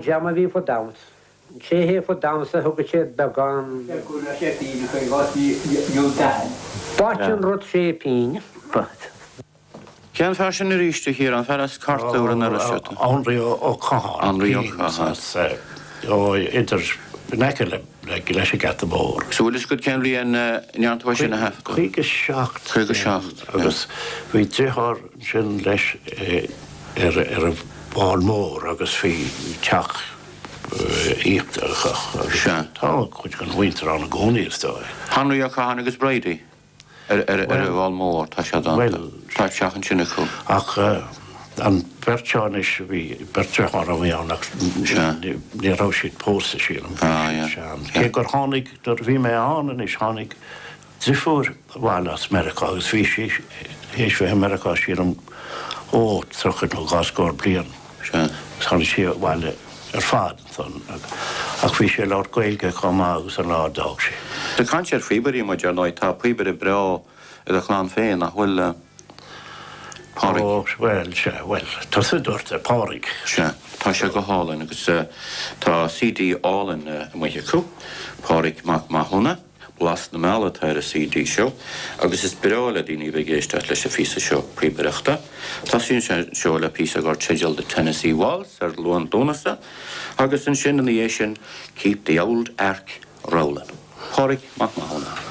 Dream a bhí fá damhsa. An té a théadh fá damhsa thugadh siad beagán. B'ait an rud sé pínn. B'ait. Cén fear sin arís, a Chiaráin? Fear as Cartúr an Iorrais ata. Anraí Ó Catháin. Anraí Ó Catháin. Ó idir, in aice le, leis an Gheata Mór. So bhfuil fhios agat cén bhliain a ndearna tú é sin a thaifeadadh? 57. 57, Agus bhí driotháir ansin leis ar ar an bhFál Mór agus bhí teach íochtarach agus tá cuid den mhuintir ann i gcónaí is dóigh. Henry Ó Catháin agus Bridie ar ar an bhFál Mór, tá siad ann, tá teach ansin acu. Ach an bheirt seo anois, bhí beirt driotháir a bhí ann ach ní raibh siad pósta sílim. Cé gur tháinig, nuair a bhí mé ann anois, tháinig drifiúr abhaile as Meiriceá agus bhí sí théis bheith i Meiriceá sílim ó 30 nó dhá scór bliain. Sea. Agus tháinig sí abhaile ar fad ansan ach bhí sí ag labhairt Gaeilge chomh maith agus an lá a d'fhág sí. Ag caint ar phíobairí muid, ar ndóigh, tá píobaire breá i do chlann féin, nach bhfuil, a Phádraig? Ó, bhuel, sea, bhuel, tusa a dúirt é, Pádraig. Sea, tá sé go hálainn agus tá CD álainn amuigh acu, Pádraig Mac Mathúna. Blas na Meala atá ar an CD seo agus is breá le daoine a bheith ag éisteacht leis an phíosa seo píobaireachta. Tosaíonn sé seo le píosa dar teideal The Tennessee Waltz ar Luan Lúnasa agus ansin ina dhiaidh sin Keep the Ould Ark Rowlin'. Pádraig Mac Mathúna.